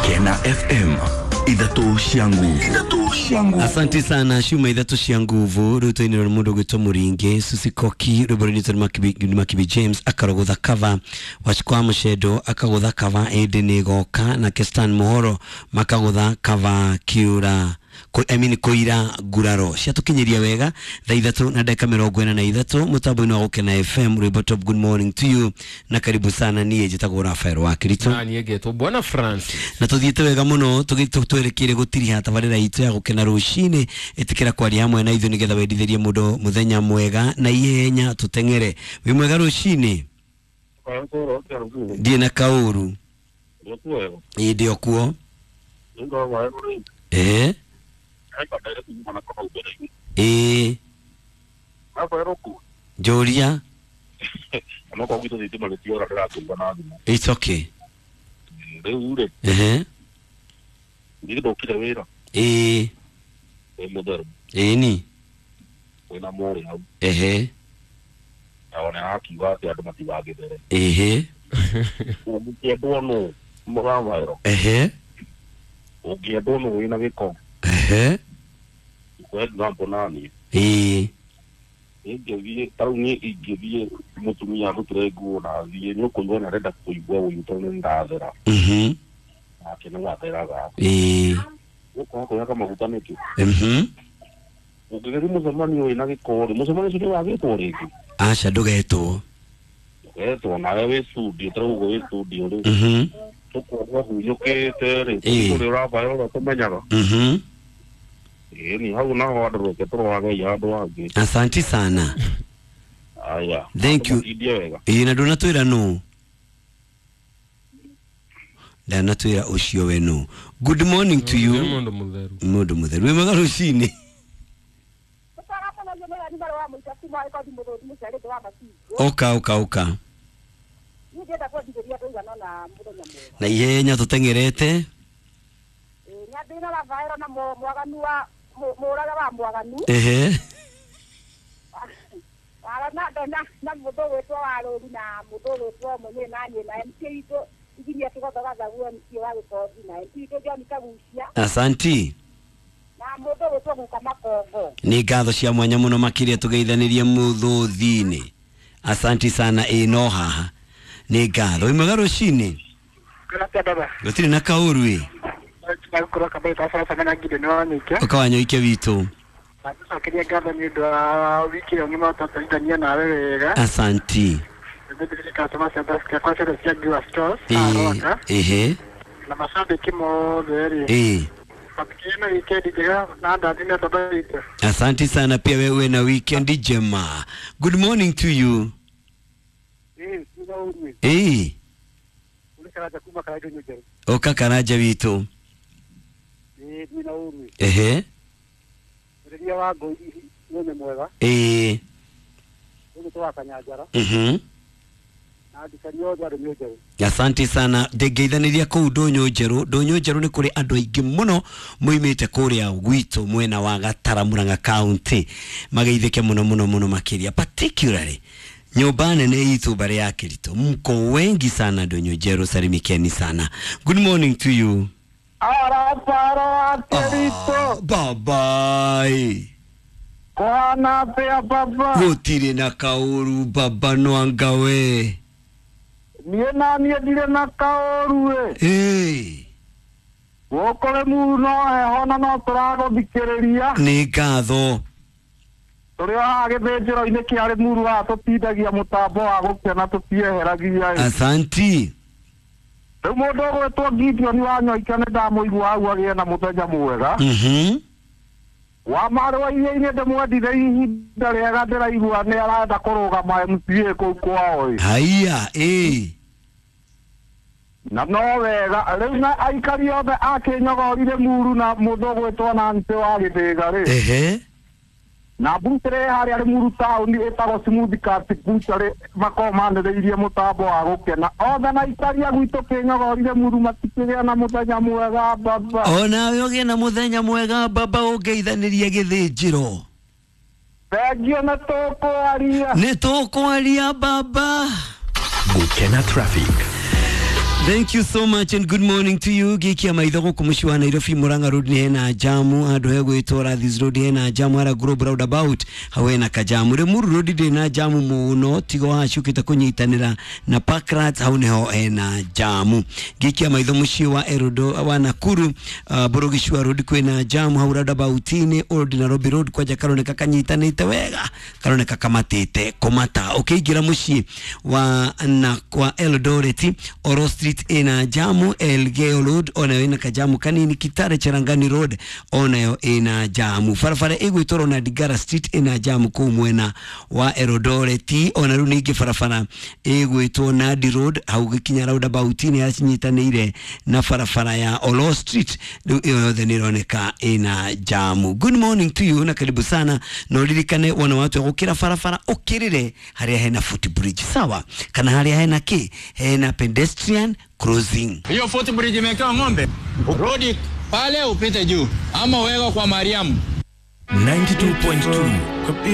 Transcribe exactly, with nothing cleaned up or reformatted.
Gukena F M ithatu cia nguvu ithatu cia nguvu. Asante sana shuma ithatu cia nguvu ruto-inĩ rwa mũndũ gwĩtwo Mũringi Susikoki rwĩmbo rũinĩtwo nĩ Makibi, Makibi James akarogotha cover Wachikwa Mũcendo akagũtha cover ĩndĩ nĩ goka na Kestan Muhoro makagũtha cover kiura I mean koira nguraro ciatukinyiria wega thaa ithatu na ndagĩka mĩrongo ĩna na ithatu mũtambo-inĩ wa Gukena F M rwĩmbo top. Good morning to you na karibu sana. Niĩ njĩtagwo Rafael wa Kirito na niĩ ngetwo Bwana Francis na tuthiĩte wega mũno twerekeire gũtiriha tabarĩra itũ ya Gukena rũcinĩ. Ĩtĩkĩra kwaria hamwe na ithuĩ nĩgetha wendithĩrie mũndũ mũthenya mwega na ihenya tũteng'ere. Wĩ mwega rũcinĩ? Ndiĩ na kaũru. Ĩĩ ndĩ o kuo. Ĩĩ ĩĩ njũria. It's okay. Ehe. Ĩĩ ĩĩ ni ehe ehe ehe ehe ĩĩ ingĩthiĩ ta rĩu niĩ ingĩthiĩ mũtumia arutĩre nguo na thiĩ nĩ ũkũigua nĩ arenda kũigua ũiru tondũ nĩ ndathera. Mhm. Nake nĩ watheraga. Ĩĩ. Ũkwaga kwĩhaka maguta nĩkĩ? Mhm. Ũngĩgĩthiĩ mũcemanio wĩna gĩko rĩ, mũcemanio ũcio nĩwagĩtwo rĩngĩ? Aca ndũgetwo. Ndũgetwo nawe wĩ studio ta rĩu ũguo wĩ studio rĩ. Mhm. Tũkuona ũhunyũkĩte rĩ, Ĩĩ. kũrĩa ũrabayo ũrĩa tũmenyaga. Mhm. Ĩĩ hau naho andũ reke tũrorage handũ hangĩ. Asante sana. Aya. Thank you. Ĩĩ na ndũnatwĩra nũ? Ndanatwĩra ũcio we nũ. Good morning to you. Mũndũ mũtheru. Mũndũ mũtheru. Wĩ mwega rũcinĩ? Oka oka oka. Na ihenya tũteng'erete. Ehe. Asanti. Nĩ ngatho cia mwanya mũno makĩria tũgeithanĩrie mũthũthi-inĩ. Asanti sana. Ĩ no haha nĩ ngatho. Wĩ mwega rũcinĩ? Gũtirĩ na kaũru ĩ. Ũka Wanyoike witũ. Asanti. Ehe. Ĩĩ. Asante sana pia wewe na weekend njema. Good morning to you. Eh. Oka Karaja witũ. Ehe. Ĩĩ. Mhm. Asante sana. Ndĩngeithanĩria kũu ndũnyũ njerũ. Ndũnyũ njerũ nĩ kũrĩ andũ aingĩ mũno moimĩte kũrĩa gwitũ mwena wa Gatara Murang'a County mageithĩke mũno mũno mũno makĩria, particularly nyũmba nene itũ mbarĩ ya Kirito. Mko wengi sana ndũnyũ njerũ, salimikeni sana. Good morning to you. Araparo wa Kirito. Bye bye. Kwana pea baba. Gũtirĩ na kaũru baba no anga we. Niĩ na niĩ ndirĩ na kaũru ĩ. Ĩĩ. Gũkũ Rĩmuru no heho na no tũragũthikĩrĩria. Nĩ ngatho. Tũrĩ o haha gĩthĩnjĩro-inĩ kĩa Rĩmuru haha tũtindagia mũtambo wa Gũkena tũtieheragia ĩ. Asanti. Rĩu mũndũ ũgwĩtwo Gideon wa Nyoike nĩ ndamũigua hau agĩe na mũthenya mwega. Mhm. Wa marũa iria-inĩ ndĩmwendire ihinda rĩega ndĩraigua nĩ arenda kũrũgama M C A kũu kwao ĩ. Haiya ĩĩ. Na no wega rĩu na aikari othe a Kĩnyogori Rĩmuru na mũndũ ũgwĩtwo Nancy wa Gĩthĩga rĩ. Ehe. Na butchery harĩa Rĩmuru taũni ĩtagwo Smooth Cut Butchery makoragwo manĩrĩirie mũtambo wa Gũkena. Othe na aikari a gwitũ Kĩnyogori Rĩmuru matikĩgĩa na mũthenya mwega baba. Onawe ũgĩe na mũthenya mwega baba ũngeithanĩrie gĩthĩnjĩro. Thengiũ nĩ tũkwaria. Nĩ tũkwaria baba. Gũkena traffic. Thank you so much and good morning to you. Gikia maitho guku muciĩ wa Nairobi, Murang'a Road nĩ hena jamu, handũ hegwĩtwo Rathis Road hena jamu, hara Globe Roundabout hau hena kajamu. Limuru Road ndĩ na jamu mũno, tigo hacukĩte kũnyitanĩra na Parklands, hau nĩho hena jamu. Gikia maitho muciĩ wa Erodo wa Nakuru, uh, Borogicua Road kwĩna jamu hau roundabout-inĩ, Old Nairobi Road kwanja karoneka kanyitanĩte wega, karoneka kamatĩte kũmata. Ũkĩingĩra mũciĩ wa na kwa Eldoret, Oro Street ina jamu, Elgeyo Road onayo ina kajamu kanini, Kitale Cherangani Road onayo ina jamu, barabara ĩgwĩtwo Ronald Ngala Street ina jamu kũu mwena wa Eldoret, ona rĩu ningĩ barabara ĩgwĩtwo Nandi Road hau gĩkinya roundabout-inĩ yacinyitanĩire na barabara ya Olo Street, rĩu ĩyo yothe nĩ ĩroneka ina jamu. Good morning to you na karibu sana, na ũririkane wona watu gũkĩra barabara ũkĩrĩre harĩa hena footbridge, sawa, kana harĩa hena kĩ hena pedestrian crossing. Hiyo footbridge imewekewa ng'ombe, rudi pale upite juu, ama uweka kwa Mariamu. ninety-two point two.